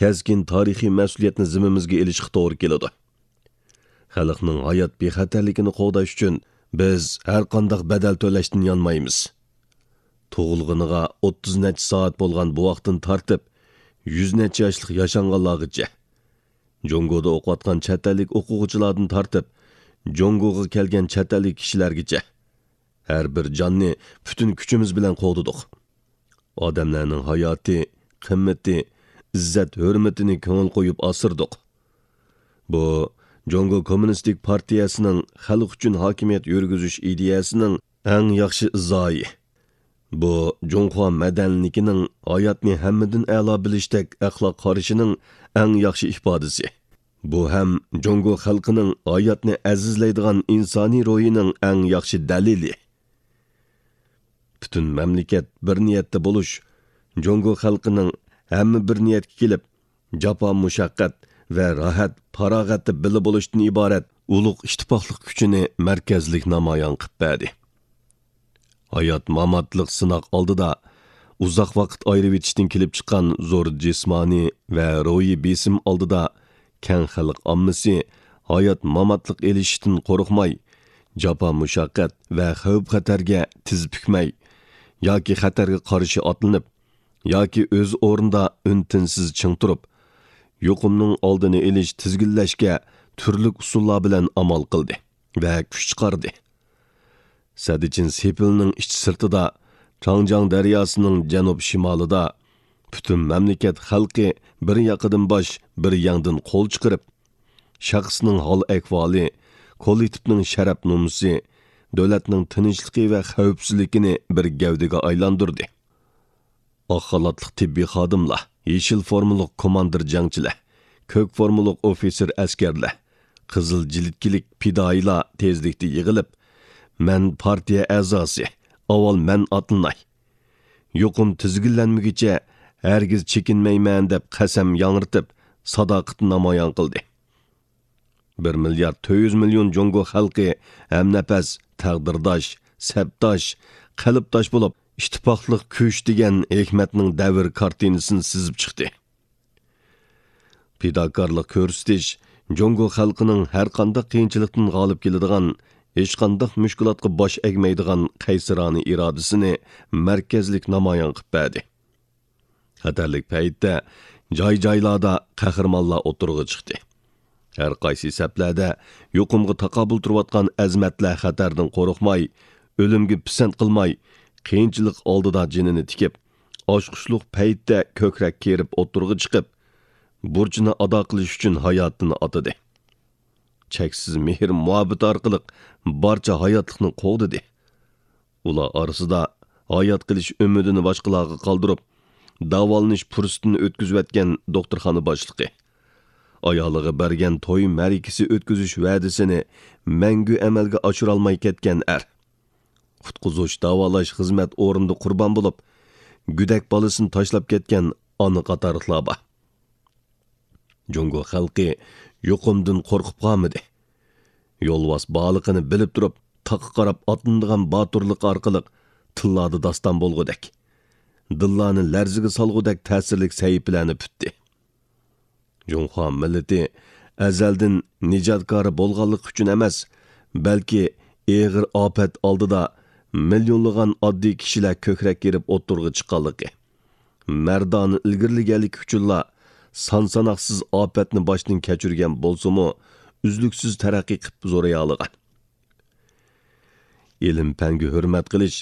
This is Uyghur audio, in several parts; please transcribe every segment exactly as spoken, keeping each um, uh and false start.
كەسكىن تارىخىي مەسئۇلىيەتنى زىممىمىزگە ئېلىشقا توغرا كېلىدۇ. خەلقنىڭ ھايات بىخەتەرلىكىنى قوغداش ئۈچۈن بىز ھەر قانداق بەدەل تۆلەشتىن يانمايمىز. تۇغۇلغىنىغا ئوتتۇز نەچچە سائەت بولغان بوۋاقتىن تارتىپ، يۈز نەچچە ياشلىق ياشانغانلارغىچە، جۇڭگودا ئوقۇۋاتقان چەت ئەللىك ئوقۇغۇچىلاردىن تارتىپ، جۇڭگوغا كەلگەن چەت ئەللىك كىشىلەرگىچە، ھەر بىر جاننى پۈتۈن كۈچىمىز بىلەن قوغدىدۇق. ئادەملەرنىڭ ھاياتى، قىممىتى، ئىززەت-ھۆرمىتىنى كۆڭۈل قويۇپ ئاسرىدۇق. بۇ، جۇڭگو كوممۇنىستىك پارتىيەسىنىڭ خەلق ئۈچۈن ھاكىمىيەت يۈرگۈزۈش ئىدىيەسىنىڭ ئەڭ ياخشى ئىزاھى. بۇ، جۇڭخۇا مەدەنىيلىكىنىڭ، ھاياتنى ھەممىدىن ئەلا بىلىشتەك ئەخلاق قارىشىنىڭ ئەڭ ياخشى ئىپادىسى. بۇ ھەم جۇڭگو خەلقىنىڭ ھاياتنى ئەزىزلەيدىغان ئىنسانىي روھىنىڭ ئەڭ ياخشى دەلىلى. پۈتۈن مەملىكەت بىر نىيەتتە بولۇش، جۇڭگو خەلقىنىڭ ھەممە بىر نىيەتكە كېلىپ، جاپا-مۇشەققەت ۋە راھەت-پاراغەتتە بىللە بولۇشتىن ئىبارەت ئۇلۇغ ئىتتىپاقلىق كۈچىنى مەركەزلىك نامايان قىلىپ بەردى. ھايات-ماماتلىق سىناق ئالدىدا، ئۇزاق ۋاقىت ئايرىۋېتىشتىن كېلىپ چىققان زور جىسمانىي ۋە روھىي بېسىم ئالدىدا، كەڭ خەلق ئاممىسى ھايات-ماماتلىق ئېلىشىشتىن قورقماي، جاپا-مۇشەققەت ۋە خەۋپ-خەتەرگە تىز پۈكمەي، ياكى خەتەرگە قارشى ئاتلىنىپ، ياكى ئۆز ئورنىدا ئۈن-تىنسىز چىڭ تۇرۇپ، يۇقۇمنىڭ ئالدىنى ئېلىش، تىزگىنلەشكە تۈرلۈك ئۇسۇللار بىلەن ئامال قىلدى ۋە كۈچ چىقاردى. سەددىچىن سېپىلنىڭ ئىچى-سىرتىدا، چاڭجياڭ دەرياسىنىڭ جەنۇب-شىمالىدا پۈتۈن مەملىكەت خەلقى بىر ياقىدىن باش، بىر يەڭدىن قول چىقىرىپ، شەخسنىڭ ھال-ئەھۋالى، كوللېكتىپنىڭ شەرەپ نومۇسى، دۆلەتنىڭ تىنچلىقى ۋە خەۋپسىزلىكىنى بىر گەۋدىگە ئايلاندۇردى. ئاق خالاتلىق تېببىي خادىملار، يېشىل فورمىلىق كوماندىر جەڭچىلەر، كۆك فورمىلىق ئوفىتسېر ئەسكەرلەر، قىزىل جىلىتكىلىك پىدائىيلار تېزلىكتە يىغىلىپ، «مەن پارتىيە ئەزاسى، ئاۋۋال مەن ئاتلىناي. يۇقۇم تىزگىنلەنمىگۈچە ھەرگىز چېكىنمەيمەن» دەپ قەسەم ياڭرىتىپ، ساداقىتىنى نامايان قىلدى. بىر مىليارد تۆت يۈز مىليون جۇڭگو خەلقى ھەمنەپەس، تەقدىرداش، سەپداش، قەلبداش بولۇپ، ئىتتىپاقلىق كۈچ دېگەن ھېكمەتنىڭ دەۋر كارتىنىسىنى سىزىپ چىقتى. پىداكارلىق كۆرسىتىش جۇڭگو خەلقىنىڭ ھەرقانداق قىيىنچىلىقتىن غالىب كېلىدىغان، ھېچقانداق مۈشكۈلاتقا باش ئەگمەيدىغان قەيسىرانە ئىرادىسىنى مەركەزلىك نامايان قىلىپ بەردى. خەتەرلىك پەيتتە جاي-جايلاردا قەھرىمانلار ئوتتۇرىغا چىقتى. ھەر قايسى سەپلەردە يۇقۇمغا تاقابىل تۇرۇۋاتقان ئەزىمەتلەر خەتەردىن قورقماي، ئۆلۈمگە پىسەنت قىلماي، قىيىنچىلىق ئالدىدا جېنىنى تىكىپ، ئاچقۇچلۇق پەيتتە كۆكرەك كېرىپ ئوتتۇرىغا چىقىپ، بۇرچىنى ئادا قىلىش ئۈچۈن ھاياتىنى ئاتىدى. چەكسىز مېھىر-مۇھەببىتى ئارقىلىق بارچە ھاياتلىقنى قوغدىدى. ئۇلار ئارىسىدا ھايات قېلىش ئۈمىدىنى باشقىلارغا قالدۇرۇپ، داۋالىنىش پۇرسىتىنى ئۆتكۈزۈۋەتكەن دوختۇرخانا باشلىقى، ئايالىغا بەرگەن توي مەرىكىسى ئۆتكۈزۈش ۋەدىسىنى مەڭگۈ ئەمەلگە ئاشۇرالماي كەتكەن ئەر، قۇتقۇزۇش، داۋالاش خىزمەت ئورنىدا قۇربان بولۇپ، گۆدەك بالىسىنى تاشلاپ كەتكەن ئانا قاتارلىقلار بار. جۇڭگو خەلقى يۇقۇمدىن قورقۇپ قالمىدى. يولۋاس بارلىقىنى بىلىپ تۇرۇپ، تاغقا قاراپ ئاتلىنىدىغان باتۇرلۇق ئارقىلىق تىللاردا داستان بولغۇدەك، دىللارنى لەرزىگە سالغۇدەك تەسىرلىك سەھىپىلەرنى پۈتتى. جۇڭخۇا مىللىتى ئەزەلدىن نىجاتكارى بولغانلىقى ئۈچۈن ئەمەس، بەلكى ئېغىر ئاپەت ئالدىدا مىليونلىغان ئاددىي كىشىلەر كۆكرەك كېرىپ ئوتتۇرىغا چىققانلىقى، مەردانە ئىلگىرىلىگەنلىكى ئۈچۈنلا سان-ساناقسىز ئاپەتنى باشتىن كەچۈرگەن بولسىمۇ، ئۈزلۈكسىز تەرەققىي قىلىپ زورىيالىغان. ئىلىم-پەنگە ھۆرمەت قىلىش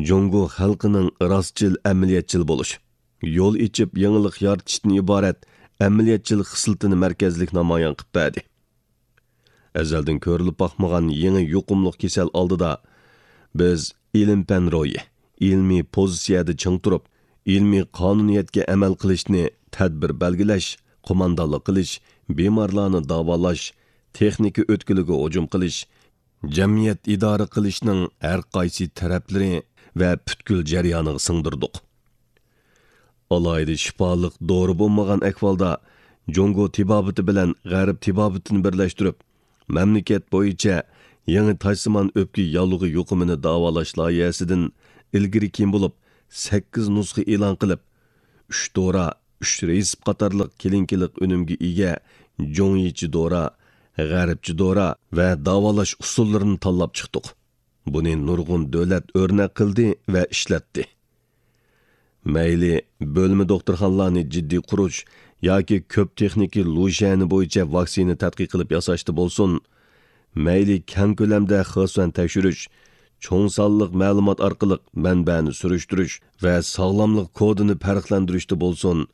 جۇڭگو خەلقىنىڭ راستچىل، ئەمەلىيەتچىل بولۇش، يول ئېچىپ يېڭىلىق يارىتىشتىن ئىبارەت ئەمەلىيەتچىل خىسلىتىنى مەركەزلىك نامايان قىلىپ بەردى. ئەزەلدىن كۆرۈلۈپ باقمىغان يېڭى يۇقۇملۇق كېسەل ئالدىدا، بىز ئىلىم-پەن روھى، ئىلمىي پوزىتسىيەدە چىڭ تۇرۇپ، ئىلمىي قانۇنىيەتكە ئەمەل قىلىشنى تەدبىر بەلگىلەش، قوماندانلىق قىلىش، بىمارلارنى داۋالاش، تېخنىكا ئۆتكىلىگە ھۇجۇم قىلىش، جەمئىيەت ئىدارە قىلىشنىڭ ھەر قايسى تەرەپلىرى ۋە پۈتكۈل جەريانىغا سىڭدۈردۇق. ئالاھىدە شىپالىق دورا بولمىغان ئەھۋالدا، جۇڭگو تېبابىتى بىلەن غەرب تېبابىتىنى بىرلەشتۈرۈپ، مەملىكەت بويىچە يېڭى تاجسىمان ئۆپكە ياللۇغى يۇقۇمىنى داۋالاش لايىھەسىدىن ئىلگىرى كېيىن بولۇپ، سەككىز نۇسخا ئېلان قىلىپ، ئۈچ دورا، ئۈچ رېتسېپ قاتارلىق كلىنىكىلىق ئۈنۈمگە ئىگە جۇڭيىچى دورا، غەربچە دورا ۋە داۋالاش ئۇسۇللىرىنى تاللاپ چىقتۇق. بۇنى نۇرغۇن دۆلەت ئۆرنەك قىلدى ۋە ئىشلەتتى. مەيلى بۆلمە دوختۇرخانىلارنى جىددىي قۇرۇش ياكى كۆپ تېخنىكا لۇشيەنى بويىچە ۋاكسىنا تەتقىق قىلىپ ياساشتا بولسۇن، مەيلى كەڭ كۆلەمدە خېسۈەن تەكشۈرۈش، چوڭ سانلىق مەلۇمات ئارقىلىق مەنبەنى سۈرۈشتۈرۈش ۋە ساغلاملىق كودىنى پەرقلەندۈرۈشتە بولسۇن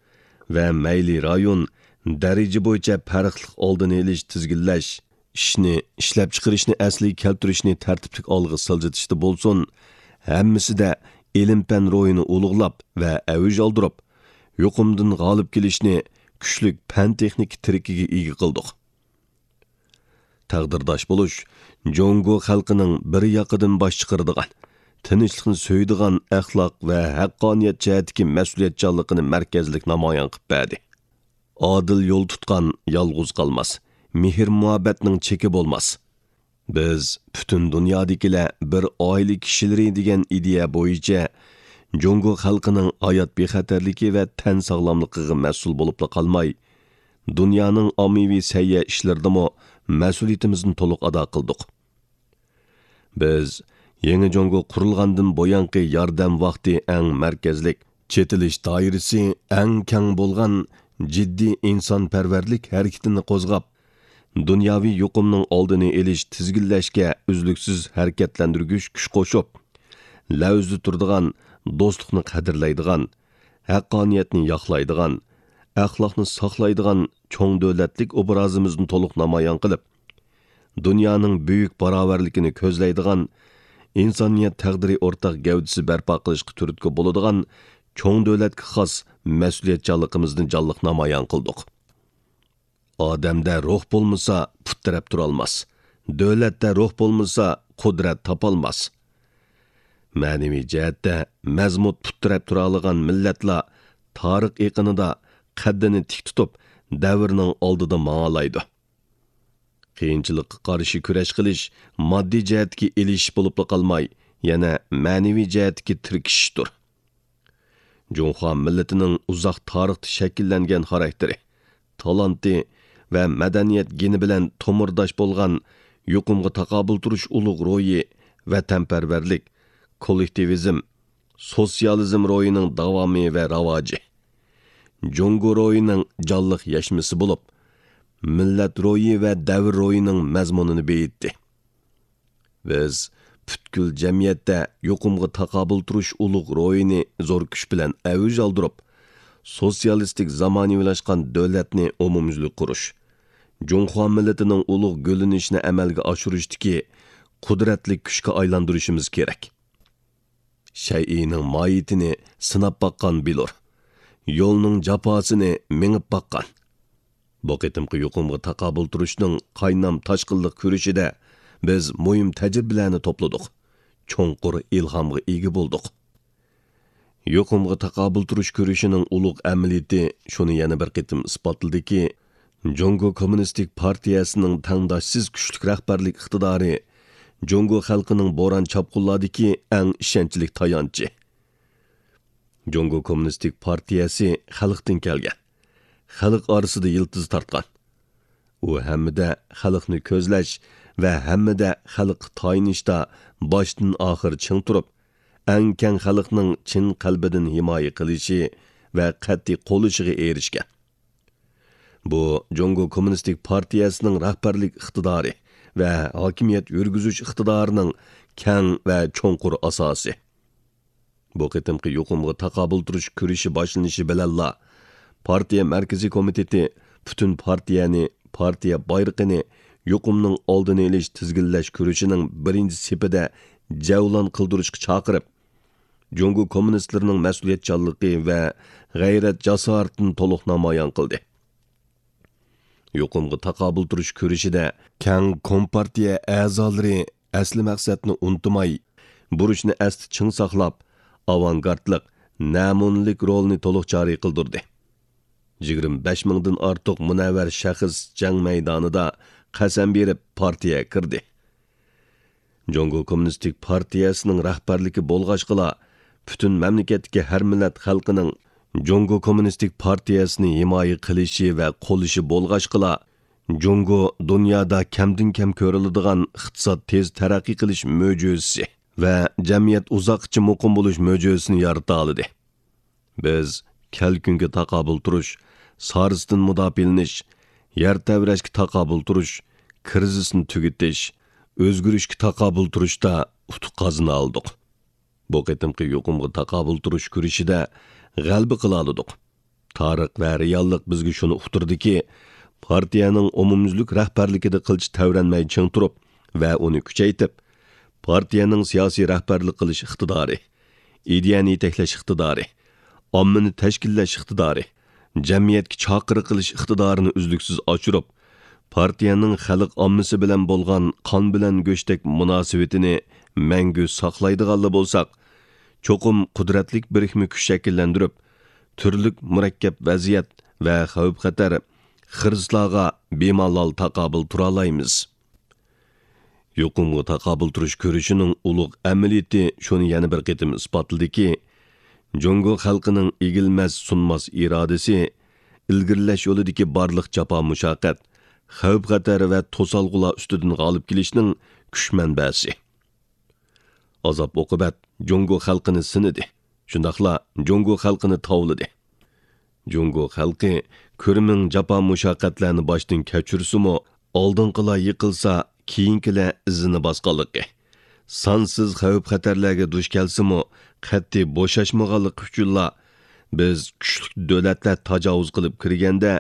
ۋە مەيلى رايون، دەرىجە بويىچە پەرقلىق ئالدىنى ئېلىش، تىزگىنلەش، ئىشنى، ئىشلەپچىقىرىشنى ئەسلىگە كەلتۈرۈشنى تەرتىپلىك ئالغا سىلجىتىشتا بولسۇن، ھەممىسىدە ئىلىم-پەن روھىنى ئۇلۇغلاپ ۋە ئەۋج ئالدۇرۇپ، يۇقۇمدىن غالىب كېلىشنى كۈچلۈك پەن-تېخنىكا تىرىكىگە ئىگە قىلدۇق. تەقدىرداش بولۇش جۇڭگو خەلقىنىڭ بىر ياقىدىن باش چىقىرىدىغان، تىنچلىقنى سۆيىدىغان ئەخلاق ۋە ھەققانىيەت جەھەتتىكى مەسئۇلىيەتچانلىقىنى مەركەزلىك نامايان قىلىپ بەردى. ئادىل يول تۇتقان يالغۇز قالماس، مېھىر-مۇھەببەتنىڭ چېكى بولماس. بىز پۈتۈن دۇنيادىكىلەر بىر ئائىلە كىشىلىرى دېگەن ئىدىيە بويىچە جۇڭگو خەلقىنىڭ ھايات بىخەتەرلىكى ۋە تەن ساغلاملىقىغا مەسئۇل بولۇپلا قالماي، دۇنيانىڭ ئاممىۋى سەھىيە ئىشلىرىدىمۇ مەسئۇلىيىتىمىزنى تولۇق ئادا قىلدۇق. بىز يېڭى جۇڭگو قۇرۇلغاندىن بۇيانقى ياردەم ۋاقتى ئەڭ مەركەزلىك، چېتىلىش دائىرىسى ئەڭ كەڭ بولغان جىددىي ئىنسانپەرۋەرلىك ھەرىكىتىنى قوزغاپ، دۇنياۋى يۇقۇمنىڭ ئالدىنى ئېلىش، تىزگىنلەشكە ئۈزلۈكسىز ھەرىكەتلەندۈرگۈچ كۈچ قوشۇپ، لەۋزىدە تۇرىدىغان، دوستلۇقنى قەدىرلەيدىغان، ھەققانىيەتنى ياقلايدىغان، ئەخلاقنى ساقلايدىغان چوڭ دۆلەتلىك ئوبرازىمىزنى تولۇق نامايان قىلىپ، دۇنيانىڭ بۈيۈك باراۋەرلىكىنى كۆزلەيدىغان، ئىنسانىيەت تەقدىرى ئورتاق گەۋدىسى بەرپا قىلىشقا تۈرتكە بولىدىغان چوڭ دۆلەتكە خاس مەسئۇلىيەتچانلىقىمىزنى جانلىق نامايان قىلدۇق. ئادەمدە روھ بولمىسا، پۇت تىرەپ تۇرالماس. دۆلەتتە روھ بولمىسا، قۇدرەت تاپالماس. مەنىۋى جەھەتتە مەزمۇت پۇت تىرەپ تۇرالىغان مىللەتلا تارىخ ئېقىنىدا قەددىنى تىك تۇتۇپ، دەۋرنىڭ ئالدىدا ماڭالايدۇ. قىيىنچىلىققا قارشى كۈرەش قىلىش ماددىي جەھەتتىكى ئېلىشىش بولۇپلا قالماي، يەنە مەنىۋى جەھەتتىكى تىركىشىشتۇر. جۇڭخۇا مىللىتىنىڭ ئۇزاق تارىختا شەكىللەنگەن خاراكتېرى، تالانتى ۋە مەدەنىيەت گېنى بىلەن تومۇرداش بولغان يۇقۇمغا تاقابىل تۇرۇش ئۇلۇغ روھى، ۋەتەنپەرۋەرلىك، كوللېكتىۋىزم، سوتسىيالىزم روھىنىڭ داۋامى ۋە راۋاجى، جۇڭگو روھىنىڭ جانلىق يەشمىسى بولۇپ، مىللەت روھى ۋە دەۋر روھىنىڭ مەزمۇنىنى بېيىتتى. بىز پۈتكۈل جەمئىيەتتە يۇقۇمغا تاقابىل تۇرۇش ئۇلۇغ روھىنى زور كۈچ بىلەن ئەۋج ئالدۇرۇپ، سوتسىيالىستىك زامانىۋىلاشقان دۆلەتنى ئومۇميۈزلۈك قۇرۇش، جۇڭخۇا مىللىتىنىڭ ئۇلۇغ گۈللىنىشىنى ئەمەلگە ئاشۇرۇشتىكى قۇدرەتلىك كۈچكە ئايلاندۇرۇشىمىز كېرەك. شەيئىنىڭ ماھىيىتىنى سىناپ باققان بىلۇر، يولنىڭ جاپاسىنى مېڭىپ باققان. بۇ قېتىمقى يۇقۇمغا تاقابىل تۇرۇشنىڭ قاينام تاشقىنلىق كۈرىشىدە بىز مۇھىم تەجرىبىلەرنى توپلىدۇق، چوڭقۇر ئىلھامغا ئىگە بولدۇق. يۇقۇمغا تاقابىل تۇرۇش كۈرىشىنىڭ ئۇلۇغ ئەمەلىيىتى شۇنى يەنە بىر قېتىم ئىسپاتلىدىكى، جۇڭگو كوممۇنىستىك پارتىيەسىنىڭ تەڭداشسىز كۈچلۈك رەھبەرلىك ئىقتىدارى جۇڭگو خەلقىنىڭ بوران-چاپقۇنلاردىكى ئەڭ ئىشەنچلىك تايانچى. جۇڭگو كوممۇنىستىك پارتىيەسى خەلقتىن كەلگەن، خەلق ئارىسىدا يىلتىز تارتقان. ئۇ ھەممىدە خەلقنى كۆزلەش ۋە ھەممىدە خەلققە تايىنىشتا باشتىن ئاخىر چىڭ تۇرۇپ، ئەڭ كەڭ خەلقنىڭ چىن قەلبىدىن ھىمايە قىلىشى ۋە قەتئىي قوللىشىغا ئېرىشكەن. بۇ جۇڭگو كوممۇنىستىك پارتىيەسىنىڭ رەھبەرلىك ئىقتىدارى ۋە ھاكىمىيەت يۈرگۈزۈش ئىقتىدارىنىڭ كەڭ ۋە چوڭقۇر ئاساسى. بۇ قېتىمقى يۇقۇمغا تاقابىل تۇرۇش كۈرىشى باشلىنىشى بىلەنلا، پارتىيە مەركىزىي كومىتېتى پۈتۈن پارتىيەنى، پارتىيە بايرىقىنى يۇقۇمنىڭ ئالدىنى ئېلىش، تىزگىنلەش كۈرىشىنىڭ بىرىنچى سېپىدە جەۋلان قىلدۇرۇشقا چاقىرىپ، جۇڭگو كوممۇنىستلىرىنىڭ مەسئۇلىيەتچانلىقى ۋە غەيرەت-جاسارىتىنى تولۇق نامايان قىلدى. يۇقۇمغا تاقابىل تۇرۇش كۈرىشىدە كەڭ كومپارتىيە ئەزالىرى ئەسلى مەقسەتنى ئۇنتۇماي، بۇرچنى ئەستە چىڭ ساقلاپ، ئاۋانگارتلىق، نەمۇنىلىك رولىنى تولۇق جارى قىلدۇردى. يىگىرمە بەش مىڭدىن ئارتۇق مۇنەۋۋەر شەخس جەڭ مەيدانىدا قەسەم بېرىپ پارتىيەگە كىردى. جۇڭگو كوممۇنىستىك پارتىيەسىنىڭ رەھبەرلىكى بولغاچقىلا، پۈتۈن مەملىكەتتىكى ھەر مىللەت خەلقىنىڭ جۇڭگو كوممۇنىستىك پارتىيەسىنى ھىمايە قىلىشى ۋە قوللىشى بولغاچقىلا، جۇڭگو دۇنيادا كەمدىن كەم كۆرۈلىدىغان ئىقتىساد تېز تەرەققىي قىلىش مۆجىزىسى ۋە جەمئىيەت ئۇزاققىچە مۇقىم بولۇش مۆجىزىسىنى يارىتالىدى. بىز كەلكۈنگە تاقابىل تۇرۇش، سارىسىدىن مۇداپىئەلىنىش، يەر تەۋرەشكە تاقابىل تۇرۇش، كىرىزىسنى تۈگىتىش، ئۆزگىرىشكە تاقابىل تۇرۇشتا ئۇتۇق قازىنالىدۇق. بۇ قېتىمقى يۇقۇمغا تاقابىل تۇرۇش كۈرىشىدە غەلىبە قىلالىدۇق. تارىخ ۋە رېئاللىق بىزگە شۇنى ئۇقتۇردىكى، پارتىيەنىڭ ئومۇميۈزلۈك رەھبەرلىكىدە قىلچە تەۋرەنمەي چىڭ تۇرۇپ ۋە ئۇنى كۈچەيتىپ، پارتىيەنىڭ سىياسىي رەھبەرلىك قىلىش ئىقتىدارى، ئىدىيەنى يېتەكلەش ئىقتىدارى، ئاممىنى تەشكىللەش ئىقتىدارى، جەمئىيەتكە چاقىرىق قىلىش ئىقتىدارىنى ئۈزلۈكسىز ئاشۇرۇپ، پارتىيەنىڭ خەلق ئاممىسى بىلەن بولغان قان بىلەن گۆشتەك مۇناسىۋىتىنى مەڭگۈ ساقلايدىغانلا بولساق، چوقۇم قۇدرەتلىك بىرىكمە كۈچ شەكىللەندۈرۈپ، تۈرلۈك مۇرەككەپ ۋەزىيەت ۋە خەۋپ-خەتەر، خىرىسلارغا بىمالال تاقابىل تۇرالايمىز. يۇقۇمغا تاقابىل تۇرۇش كۈرىشىنىڭ ئۇلۇغ ئەمەلىيىتى شۇنى يەنە بىر قېتىم ئىسپاتلىدىكى، جۇڭگو خەلقىنىڭ ئېگىلمەس، سۇنماس ئىرادىسى، ئىلگىرىلەش يولىدىكى بارلىق جاپا-مۇشەققەت، خەۋپ-خەتەر ۋە توسالغۇلار ئۈستىدىن غالىب كېلىشنىڭ كۈچ مەنبەسى. ئازاب-ئوقۇبەت جۇڭگو خەلقىنى سىنىدى، شۇنداقلا جۇڭگو خەلقىنى تاۋلىدى. جۇڭگو خەلقى كۆرمىڭ جاپا-مۇشەققەتلەرنى باشتىن كەچۈرسىمۇ، ئالدىنقىلار يىقىلسا، كېيىنكىلەر ئىزىنى باسقانلىقى، سانسىز خەۋپ-خەتەرلەرگە دۇچ كەلسىمۇ، قەتئىي بوشاشمىغانلىقى ئۈچۈنلا، بىز كۈچلۈك دۆلەتلەر تاجاۋۇز قىلىپ كىرگەندە،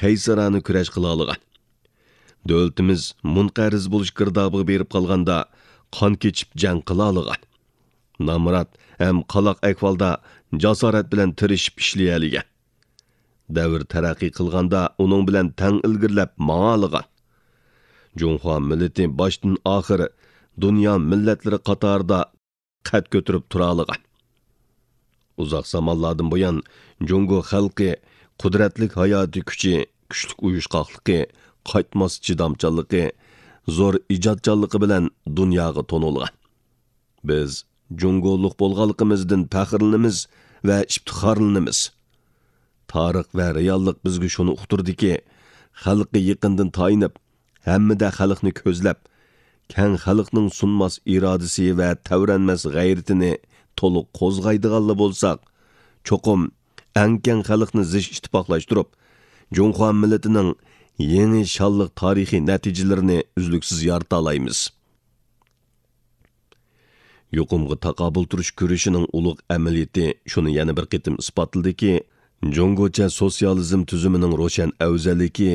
قەيسەرانە كۈرەش قىلالىغان. دۆلىتىمىز مۇنقەرز بولۇش گىردابىغا بېرىپ قالغاندا، قان كېچىپ جەڭ قىلالىغان. نامرات ھەم قالاق ئەھۋالدا جاسارەت بىلەن تىرىشىپ ئىشلىيەلىگەن. دەۋر تەرەققىي قىلغاندا ئۇنىڭ بىلەن تەڭ ئىلگىرىلەپ ماڭالىغان. جۇڭخۇا مىللىتى باشتىن ئاخىر دۇنيا مىللەتلىرى قاتارىدا قەد كۆتۈرۈپ تۇرالىغان. ئۇزاق زامانلاردىن بۇيان جۇڭگو خەلقى قۇدرەتلىك ھاياتىي كۈچى، كۈچلۈك ئۇيۇشقاقلىقى، قايتماس چىدامچانلىقى، زور ئىجادچانلىقى بىلەن دۇنياغا تونۇلغان. بىز جۇڭگولۇق بولغانلىقىمىزدىن پەخىرلىنىمىز ۋە ئىپتىخارلىنىمىز. تارىخ ۋە رېئاللىق بىزگە شۇنى ئۇقتۇردىكى، خەلققە يېقىندىن تايىنىپ، ھەممىدە خەلقنى كۆزلەپ، كەڭ خەلقنىڭ سۇنماس ئىرادىسى ۋە تەۋرەنمەس غەيرىتىنى تولۇق قوزغايدىغانلا بولساق، چوقۇم ئەڭ كەڭ خەلقنى زىچ ئىتتىپاقلاشتۇرۇپ، جۇڭخۇا مىللىتىنىڭ يېڭى شانلىق تارىخىي نەتىجىلىرىنى ئۈزلۈكسىز يارىتالايمىز. يۇقۇمغا تاقابىل تۇرۇش كۈرىشىنىڭ ئۇلۇغ ئەمەلىيىتى شۇنى يەنە بىر قېتىم ئىسپاتلىدىكى، جۇڭگوچە سوتسىيالىزم تۈزۈمىنىڭ روشەن ئەۋزەللىكى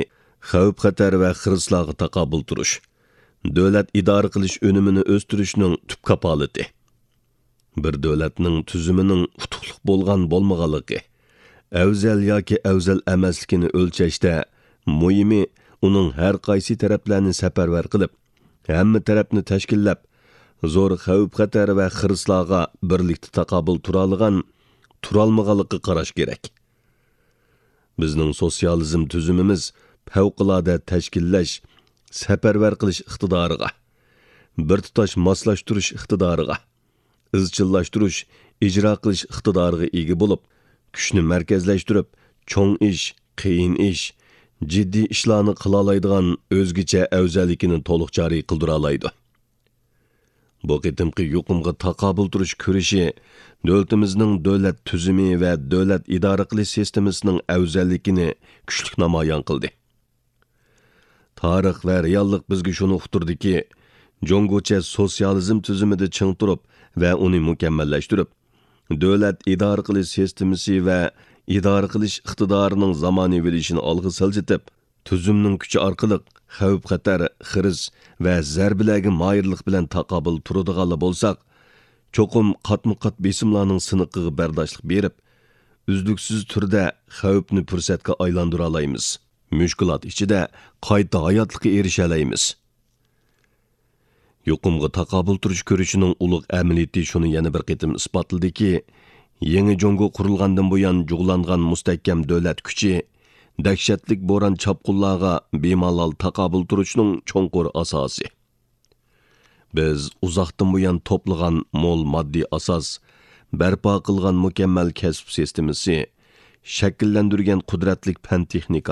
خەۋپ-خەتەر ۋە خىرىسلارغا تاقابىل تۇرۇش، دۆلەت ئىدارە قىلىش ئۈنۈمىنى ئۆستۈرۈشنىڭ تۈپ كاپالىتى. بىر دۆلەتنىڭ تۈزۈمىنىڭ ئۇتۇقلۇق بولغان بولمىغانلىقى، ئەۋزەل ياكى ئەۋزەل ئەمەسلىكىنى ئۆلچەشتە مۇھىمى ئۇنىڭ ھەر قايسى تەرەپلەرنى سەپەرۋەر قىلىپ، ھەممە تەرەپنى تەشكىللەپ، زور خەۋپ-خەتەر ۋە خىرىسلارغا بىرلىكتە تاقابىل تۇرالىغان، تۇرالمىغانلىقىغا قاراش كېرەك. بىزنىڭ سوتسىيالىزم تۈزۈمىمىز پەۋقۇلئاددە تەشكىللەش، سەپەرۋەر قىلىش ئىقتىدارىغا، بىر تۇتاش ماسلاشتۇرۇش ئىقتىدارىغا، ئىزچىللاشتۇرۇش، ئىجرا قىلىش ئىقتىدارىغا ئىگە بولۇپ، كۈچنى مەركەزلەشتۈرۈپ، چوڭ ئىش، قىيىن ئىش، جىددىي ئىشلارنى قىلالايدىغان ئۆزگىچە ئەۋزەللىكىنى تولۇق جارى قىلدۇرالايدۇ. بۇ قېتىمقى يۇقۇمغا تاقابىل تۇرۇش كۈرىشى دۆلىتىمىزنىڭ دۆلەت تۈزۈمى ۋە دۆلەت ئىدارە قىلىش سىستېمىسىنىڭ ئەۋزەللىكىنى كۈچلۈك نامايان قىلدى. تارىخ ۋە رېئاللىق بىزگە شۇنى ئۇقتۇردىكى، جۇڭگوچە سوتسىيالىزم تۈزۈمىدە چىڭ تۇرۇپ ۋە ئۇنى مۇكەممەللەشتۈرۈپ، دۆلەت ئىدارە قىلىش سىستېمىسى ۋە ئىدارە قىلىش ئىقتىدارىنىڭ زامانىۋىلىشىنى ئالغا سىلجىتىپ، تۈزۈمنىڭ كۈچى ئارقىلىق خەۋپ-خەتەر، خىرىس ۋە زەربىلەرگە ماھىرلىق بىلەن تاقابىل تۇرىدىغانلا بولساق، چوقۇم قاتمۇ-قات بېسىملارنىڭ سىنىقىغا بەرداشلىق بېرىپ، ئۈزلۈكسىز تۈردە خەۋپنى پۇرسەتكە ئايلاندۇرالايمىز. مۈشكۈلات ئىچىدە قايتا ھاياتلىققا ئېرىشەلەيمىز. يۇقۇمغا تاقابىل تۇرۇش كۈرىشىنىڭ ئۇلۇغ ئەمەلىيىتى شۇنى يەنە بىر قېتىم ئىسپاتلىدىكى، يېڭى جۇڭگو قۇرۇلغاندىن بۇيان جۇغلانغان مۇستەھكەم دۆلەت كۈچى دەھشەتلىك بوران-چاپقۇنلارغا بىمالال تاقابىل تۇرۇشنىڭ چوڭقۇر ئاساسى. بىز ئۇزاقتىن بۇيان توپلىغان مول ماددىي ئاساس، بەرپا قىلغان مۇكەممەل كەسىپ سىستېمىسى، شەكىللەندۈرگەن قۇدرەتلىك پەن-تېخنىكا،